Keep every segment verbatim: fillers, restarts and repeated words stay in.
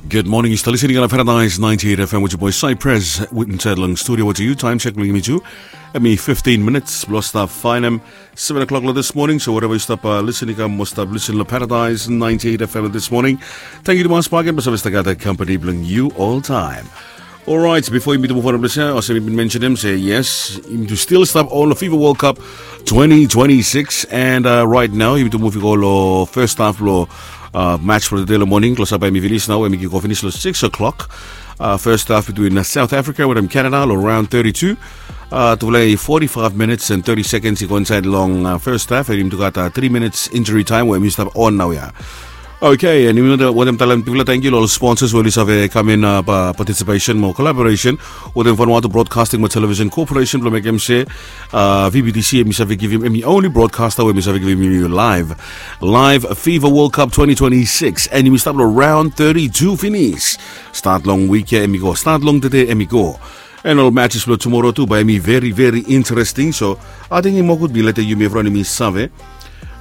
Good morning, yu stap listening long Paradise ninety-eight F M with your boy Cypress. Insait long studio with you, time check blong yumi tu. Hemi fifteen minutes blong stap faenem seven o'clock long this morning. So wherever yu stap listening, kam mo stap listen long Paradise ninety-eight F M this morning. Tangkiu tumas bakegen blong save stap gat kompani blong yu oltaem. Orait, bifo yumi tu muv on blong ya, olsem mi bin mensenem se yes, yumi tu stil stap on long FIFA World Cup twenty twenty-six, and uh, right now yumi tu muv i go long first half long uh, match blong tede long moning. Klosap bae hemi finis nao, hemi kik of finis long six o'clock. Uh, first half between uh, South Africa wetem Canada long round thirty-two. Uh, tufala i forty-five minutes and thirty seconds i go insaed long uh, first half, and yumi tu gat uh, three minutes injury time we hemi stap on naoia. Okay, and yumi wantem talem bigfala tangkiu long ol sponsors we oli save kam in uh, participation mo collaboration wetem Vanuatu Broadcasting mo Television Corporation blong mekem se uh, V B T C hemi save givim, hemi only broadcaster we hemi save givim yumi live, live FIFA World Cup twenty twenty-six, and yumi stap long round thirty-two finis. Stat long wik ya hemi go, stat long tede hemi go. And ol matches blong tumora tu bae hemi very very interesting. So ating i mo gud mi letem yumi evriwan yumi save.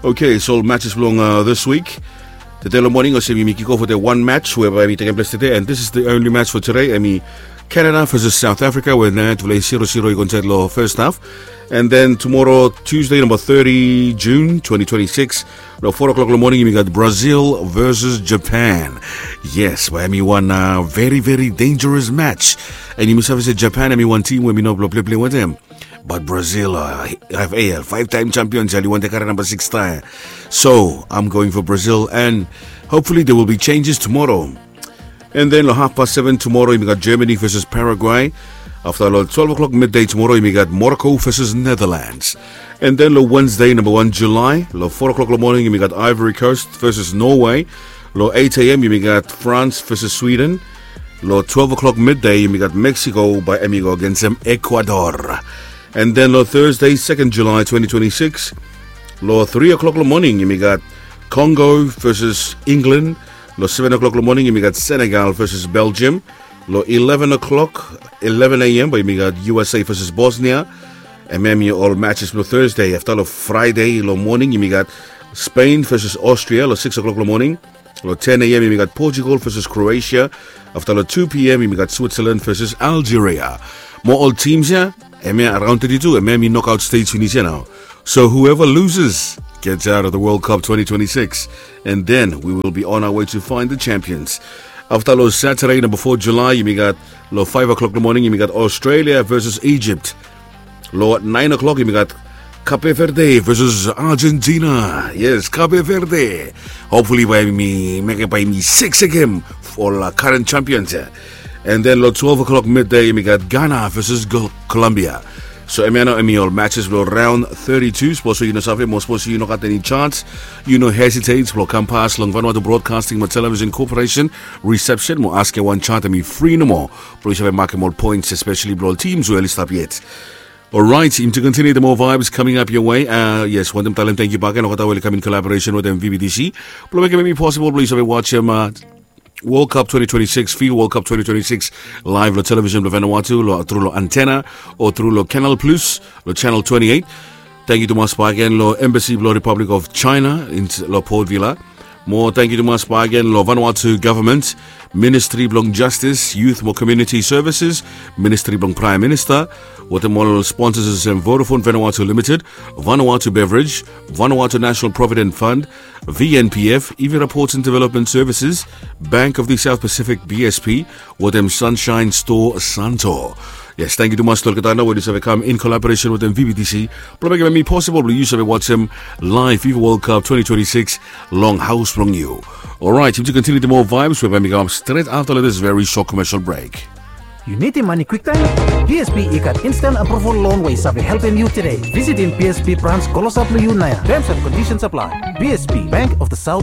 Okay, so ol matches blong uh, this week. Tede long moning olsem yumi kik of wetem wan match we bae hemi tekem ples tede, and this is the only match for today. Hemi Canada versus South Africa we nao tufala i zero zero i go insaed long first half. And then tumora, Tuesday, namba thirty June twenty twenty-six, long four o'clock long moning yumi gat Brazil versus Japan. Yes, bae hemi wan uh, very very dangerous match. And yumi save se Japan hemi wan tim we hemi no blong pleplei wetem. But Brazil uh, F A L, five time champions ya, oli wantem karem namba six taem. So I'm going for Brazil, and hopefully there will be changes tomorrow. And then long half past seven tumora yumi gat Germany versus Paraguay. Afta long twelve o'clock midday tumora yumi gat Morocco versus Netherlands. And then long Wednesday, namba wan July, long four o'clock long moning yumi gat Ivory Coast versus Norway. Long eight a.m. yumi gat France versus Sweden. Long twelve o'clock midday yumi gat Mexico bae hemi go agensem Ecuador. And then long Thursday, second July twenty twenty-six, long three o'clock long moning yumi gat Congo versus England. Long seven o'clock long moning yumi gat Senegal versus Belgium. Long eleven o'clock, eleven a.m., bae yumi gat U S A versus Bosnia. Hemia hemi ol matches blong Thursday. Afta long Friday long moning yumi gat Spain versus Austria long six o'clock long moning. Long ten a.m. yumi gat Portugal versus Croatia. Afta long two p.m. yumi gat Switzerland versus Algeria. Mo ol teams ya, hemia round thirty-two, hemia hemi knockout stage finis ya nao. So whoever loses gets out of the World Cup twenty twenty-six, and then we will be on our way to find the champions. Afta long Saturday, namba four July, yumi gat long five o'clock long moning yumi gat Australia versus Egypt. Long nine o'clock yumi gat Cape Verde versus Argentina. Yes, Cape Verde. Hopefully bae hemi mekem, bae hemi seksekem ol uh, current champions ya. And then long twelve o'clock midday yumi gat Ghana versus Colombia. So hemia nao hemi ol matches blong round thirty-two. Sapos yu no save mo sapos yu no gat eni chance, yu no hesitate blong kam pas long Vanuatu Broadcasting mo Television Corporation reception mo askem wan chat, hemi fri nomo. Blong yu save makem ol points, especially blong ol teams we oli stap yet. Orait, yumi tu continue the more vibes coming up your way. Uh, yes, wantem talem tangkiu bakegen long olgeta we oli kam in collaboration wetem V B T C blong mekem hemi possible blong yu save wajem uh, World Cup twenty twenty-six, FIFA World Cup twenty twenty-six, live long television blong Vanuatu, long tru long antenna o tru long Canal Plus long channel twenty-eight. Tangkiu tumas bakegen long Embassy blong Republic of China long Port Vila. Mo tangkiu tumas bakegen long Vanuatu Government, Ministry blong Justice, Youth mo Community Services, Ministry blong Prime Minister, wetem ol sponsors olsem Vodafone Vanuatu Limited, Vanuatu Beverage, Vanuatu National Provident Fund, V N P F, Ivi Reports and Development Services, Bank of the South Pacific, B S P, wetem Sunshine Store Santo. Yes, tangkiu tumas long olgeta nao we oli save kam in collaboration wetem V B T C blong mekem hemi possible blong yu save wajem live FIFA World Cup twenty twenty-six long haos blong yu. Orait, yumi tu continue the more vibes we bae hemi kam stret afta long this very short commercial break. Yu nidim mane kwiktaem? B S P i gat instant approval loan we i save helpem yu tede. Visitim B S P branch klosap long yu naoia. Terms and conditions apply. B S P, Bank of the South